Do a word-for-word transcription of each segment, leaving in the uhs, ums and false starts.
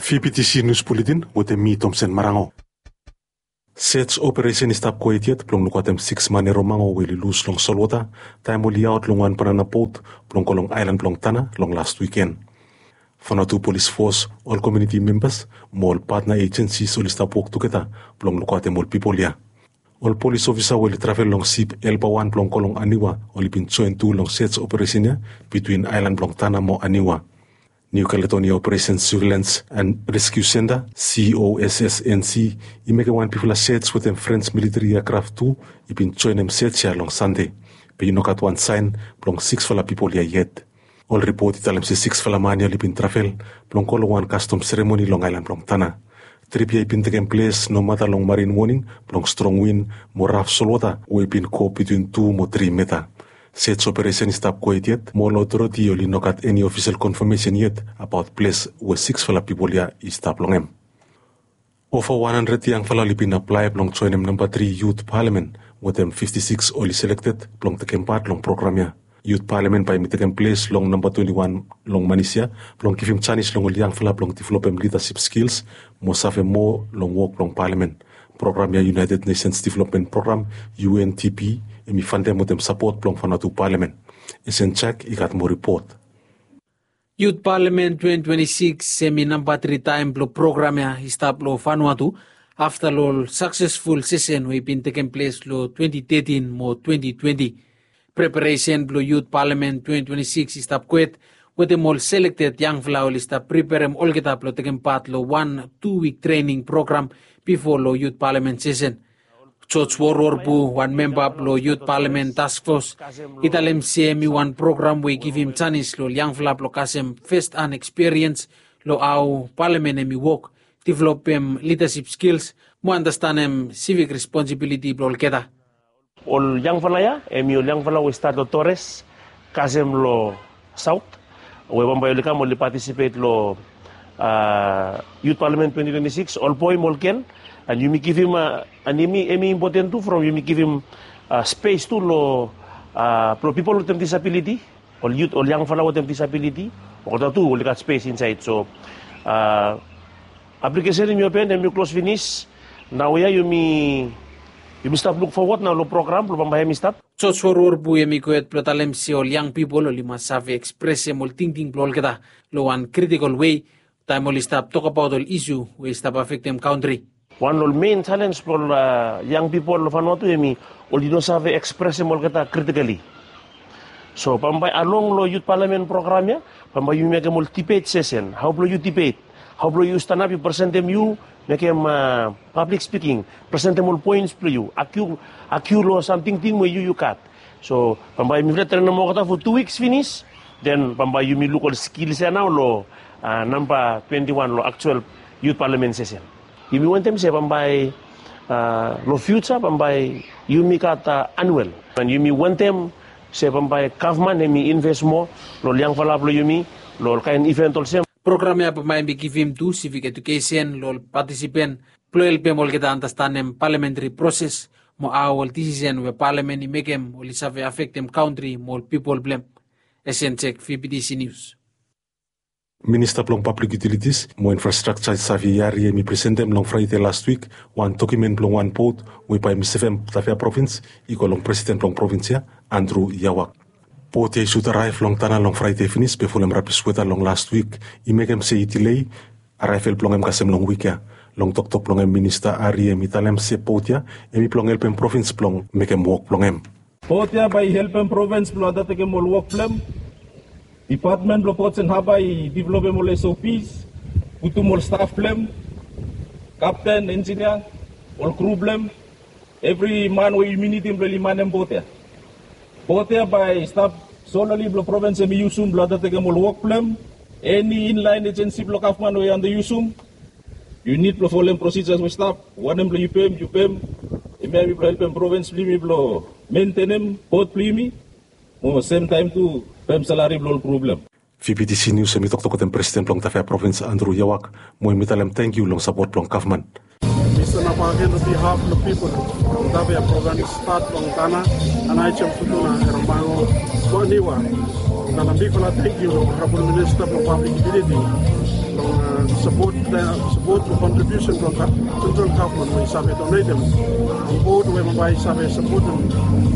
Fibitisi nius buletin wetem mi Tomsen Marango. Sej operesen i stap gohed yet blong lukaotem siks man e romango we oli lus long solwota taem oli aot long wan banana bot blong go long aelan blong Tanna long las wiken. Vanuatu Polis Fos, ol komuniti membas mo ol patna ejensis oli stap wok tugeta blong lukaotem ol pipol ya. Ol polis ofisa we oli travel long sip Elba wan blong go long Aniwa oli bin joen tu long sej operesen ya bitwin aelan blong Tanna mo Aniwa. Niu Kaledonia Operesen Surveilans an Reskiu Senta, C O S S N C, i mekem wan bigfala sej wetem Frens militeri eakraf tu i bin joenem sej ya long Sande. Be i no gat wan saen blong siksfala pipol ya yet. Ol ripot i talem se siksfala man ya oli bin travel blong go long wan kastom seremoni long aelan blong Tanna. Trip ya i bin tekem ples nomata long marin woning blong strong win mo raf solwota we i bin go bitwin tu mo tri meta. Sej operesen i stap gohed yet mo ol otoriti oli no gat eni ofisel konfamesen yet abaot ples we siksfala pipol ya i stap long hem. Ova wan handred yangfala oli bin aplae blong joenem namba tri yut palamen wetem fifti siks oli selekted blong tekem pat long program ya. Yut palamen bae i tekem ples long namba twenti wan long Manis ya blong givim janis long ol yangfala blong developem lidasip skils mo save moa long wok blong palamen. Program ya United Nations Development Program, U N D P, hem i fandem wetem sapot blong Vanuatu palamen. Esen Jak i gat moa ripot. Yut Palamen twenti twenti siks hem i namba tri taem blong program ya i stap long Vanuatu afta long ol saksesful sesen we i bin tekem ples long twenti tetin mo twenti twenti. Preparesen blong Yut Palamen twenti twenti siks i stap gohed wetem ol selekted yangfala oli stap preperem olgeta blong tekem pat long wan tu wik trening program bifo long Yut Palamen sesen. Joj Worworpu, wan memba blong Yut Palamen Task Fos, i talem se hem i wan program we i givim janis long ol yangfala blong kasem fast an ekspiriens long hao palamen hem i wok, developem lidasip skils mo andastanem sivik responsibiliti blong olgeta. Ol yangfala ya hem i ol yangfala we i stat long Torres kasem long saot we bambae oli kam oli patisipet long Yut Palamen twenti twenti siks, ol boe mo ol gel. An yumi givim an hem i impoten tu from yumi givim spes tu long blong pipol wetem disabiliti, ol yut, ol yangfala wetem disabiliti, olgeta tu oli gat spes insaed. So aplikesen hem i open, hem i klos finis. Naoia yumi stap luk fowod nao long program blong bambae hem i stat. Joj Worworpu hem i gohed blong talem se ol yang pipol oli mas save ekspresem ol tingting blong olgeta long wan kritikol wei taem oli stap tokbaot ol isu we i stap afektem kantri. Wan long ol men jalens blong ol yang pipol long Vanuatu hem i oli no save ekspresem olgeta kritikali. So bambae along long Yut Palamen program ya bambae yumi mekem ol dibet sesen, hao blong yu dibet, hao blong yu stanap yu presentem, yu mekem pablik spiking, presentem ol poens blong yu, agiu long sam tingting we yu yu gat. So bambae mifala trenem olgeta fo tu wiks finis, den bambae yumi luk ol skils ya nao long namba twenti wan long aktual Yut Palamen sesen. Yumi wantem se bambae long fiuja bambae yumi gat anuel, an yumi wantem se bambae gavman hem i inves moa long ol yangfala blong yumi long ol kaen iven olsem. Program ya bambae hem i givim tu sivik ejukesen long ol patisipen blong helpem olgeta andastanem palamentri proses mo hao ol disisen we palamen i mekem oli save afektem kantri mo ol pipol blong hem. Esen Jek, V B T C News. Minista blong Pablik Yutilitis mo Infrastrakja Xavier Yari hem i presentem long Fraede lastwik wan dokiumen blong wan bot we bae hem i sevem Tafea provins i go long presiden blong provins ya, Andrew Yawak. Bot ya i sud araev long Tanna long Fraede finis be folem rabis weta long lastwik i mekem se i dilei araevel blong hem kasem long wik ya. Long toktok blong hem Minista Yari hem i talem se bot ya hem i blong helpem provins blong mekem wok blong hem. Bot ya bae i helpem provins blong andatekem ol wok blong hem. Dipatmen blong Ports and Harbour i developem ol S O Ps, putum ol staf blong hem, kapten, enjinia, ol kru blong hem, evri man we yumi nidim blong oli manem bot ya. Bot ya bae i stap sololi blong provins hem i yusum blong andatekem ol wok blong hem. Eni inlaen ejensi blong gavman we i andae yusum, yu nid blong folem prosijas we i stap. Wanem blong yu pem, yu pem. Hemia hem i blong helpem provins blong yumi blong mentenem bot blong yumi mo semtaem tu pem salari blong ol kru blong hem. V B T C Nius hem i toktok wetem presiden blong Tafea provins Andrew Yawak mo hem i talem tangkiu long sapot blong gavman. Mi stanap agen long bihaf blong pipol blong Tafea provins, stat long Tanna, Aneityum, Futuna, Eromango mo Aniwa. Talem bigfala tangkiu long Honorabol Minista blong Pablik Iutiliti long sapot, sapot mo kontribiusen blong sentral gavman we i save donetem onbod we bambae i save sapotem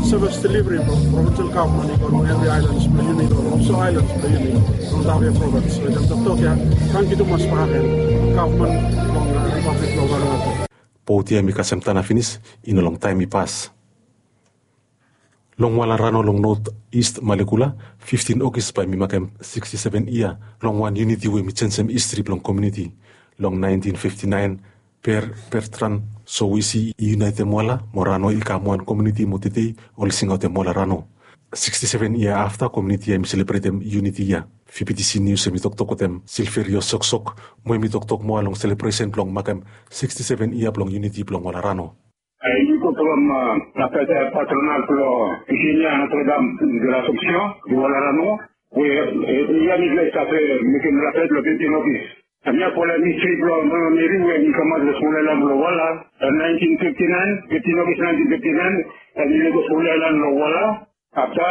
sevis deliveri blong provinsel gavman i go long evri aelans blong yumi, long ofsa aelans blong yumi, long Tafea provins. Wetem toktok ya, tangkiu tumas bakegen gavman blong Ripablik blong Vanuatu. Bot ya hemi kasem tana finis, i no long taem i pas. Long Walarano long Not Ist Malekula, fiftin Ogis bae hemi makem siksti seven yia long wan yuniti we hemi jenisim histri blong komuniti. Long naentin fifti naen, Per Bertrand Sowisi i yunaetem Wala mo Rano i kam wan komuniti mo tede oli singaotem Walarano. Siksti seven yia afta komuniti ya hemi selebretem yuniti ya. VBTC Nius hemi toktok wetem Silverio Soksok mo hemi toktok moa long selebresen blong makem siksti seven yia blong yuniti blong Walarano. Ai mi go from, a, la fête patronale blong Eugenia Notre Dame de l'Assomption de Walarano, we, e, ia mi bles a mekem la fête long fiftin Ogis. Hemia folem histri blong Mama Meri we hemi kamaot long smol aelan blong Wala long naentin fifti naen, fiftin Ogis naentin fifti naen, hemi lego smol aelan long Wala. Afta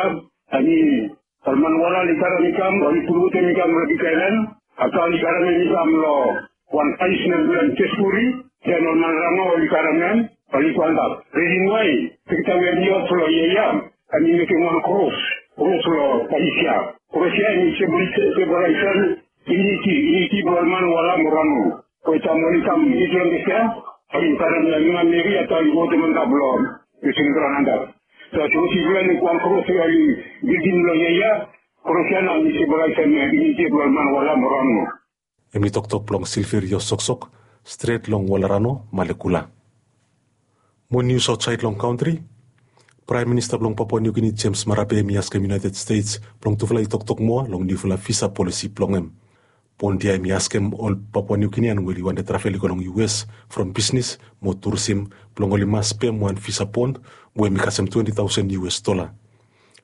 hemi, ol man Wala oli karem i kam, oli pulputem i kam long big aelan. Afta oli karem hem i kam long wan pais nem blong Teskuri. Den ol man Rano oli karem hem, oli go antap. Risen wae, piksa we hemi of long yia ya, hemi mekem wan kros, kros long pais ya. Kros ya hemi simbolaesem yuniti, yuniti blong ol man Wala mo Rano. Wetem oli kam yet long ples ya, oli karem Mama Meri, afta oli go wetem antap long festing graon antap. So, sapos yu lukluk wan kros we oli bildim long yia ya, kros ya nao hemi simbolaesem yuniti blong ol man Wala mo Rano. Hemi toktok blong Silverio Soksok, stret long Walarano, Malekula. Mo nius aotsaed long kantri. Praem Minista blong Papua Niu Gini, James Marape, hemi askem United States blong tufala i toktok moa long niufala visa polisi blong hem. Bond ya hemi askem ol Papua Niu Ginian we oli wantem travel i go long US from bisnis mo turisim blong oli mas pem wan visa bond we hemi kasem twenti taosen US dola.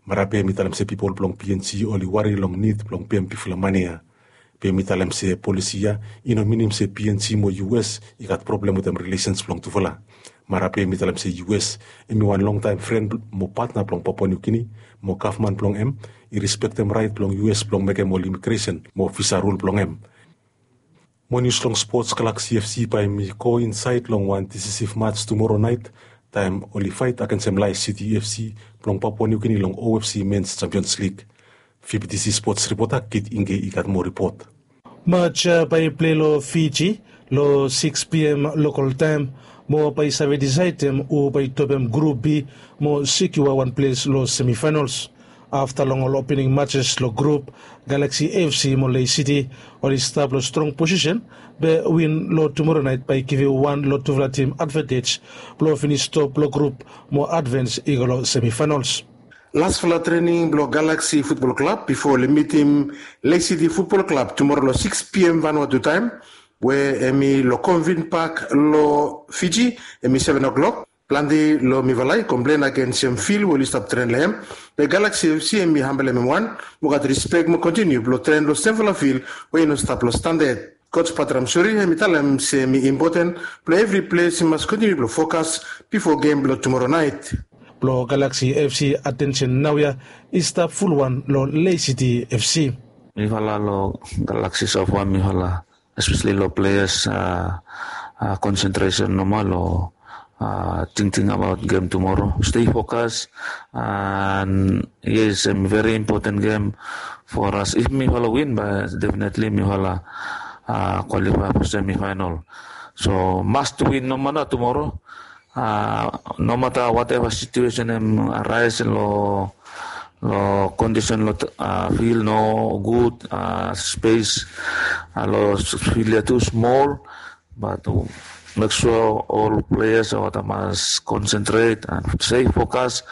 Marape hemi talem se pipol blong PNG oli wari long nid blong pem bigfala mane ya. Be hemi talem se polisi ya i no minim se PNG mo US i gat problem wetem rilesens blong tufala. Marape hemi talem se US hemi wan longtaem fren mo patna blong Papua Niu Gini, mo gavman blong hem i rispektem raet blong US blong mekem ol imigresen mo visa rul blong hem. Mo nius long spots. Galaxy FC bae hemi go insaed long wan disisiv mats tumoro naet, taem oli faet agensem Lae City FC blong Papua Niu Gini long OFC Mens Champions League. VBTC spots ripota Kit Inge i gat moa ripot. Mats ya bae i plei long Fiji long sikis piam lokol taem, mo bae i save disaedem hu bae i topem grup B mo sekiua wan ples long semifaenals. Afta long ol opening matses long grup, Galaxy FC mo Lae City oli stap long strong posisen, be win long tumoro naet bae i givim wan long tufala tim advantej blong finis top long grup mo advans i go long semifaenals. Lasfala trening blong Galaxy Futbol Klab bifo oli mitim Lae City Futbol Klab tumoro long sikis piam Vanuatu taem, we hemi long Convent Park long Fiji, hemi seven o'clock. Plante long mifala i komplen agensem fil we oli stap tren long hem. Be Galaxy FC hemi hambelem hem wan mo gat rispek mo kontiniu blong tren long semfala fil we i no stap long standad. Coach Batram Suri hemi talem se hemi impoten blong evri ples i mas kontiniu blong fokas bifo gem blong tumoro naet. Blong Galaxy FC atensen naoia i stap fulwan long Lae City FC. Mifala long Galaxy so far, mifala espeseli long pleas, a, konsentresen nomo long, a, tingting abaot gem tumoro. Stei fokas, an yes, hemi veri impoten gem for as. If mifala win, bae definetli mifala, a, kwalifae for semifaenal. So must win nomo nao tumoro. A, nomata wateva situesen hem araes long, long kondisen long, a, fil nogud, a, spes, a, long fil ya tu smol, bat mek sua ol pleas olgeta mas konsentret an stei fokas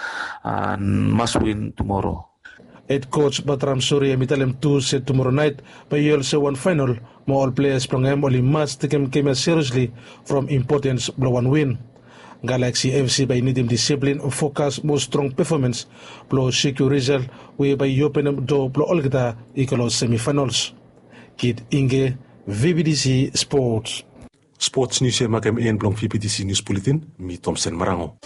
an mas win tumoro. Hed koj Batram Suri hemi talem tu se tumoro naet bae i olsem wan faenal, mo ol pleas blong hem oli mas tekem gem ya seriesli from impotens blong wan win. Galaxy FC bae i nidim disiplin, fokas mo strong pefomans blong sekiua risal we bae i openem doa blong olgeta i go long semifaenals. Kit Inge, VBTC Sports. Spots nius ya i makem en blong VBTC Nius Buletin. Mi Tomsen Marango.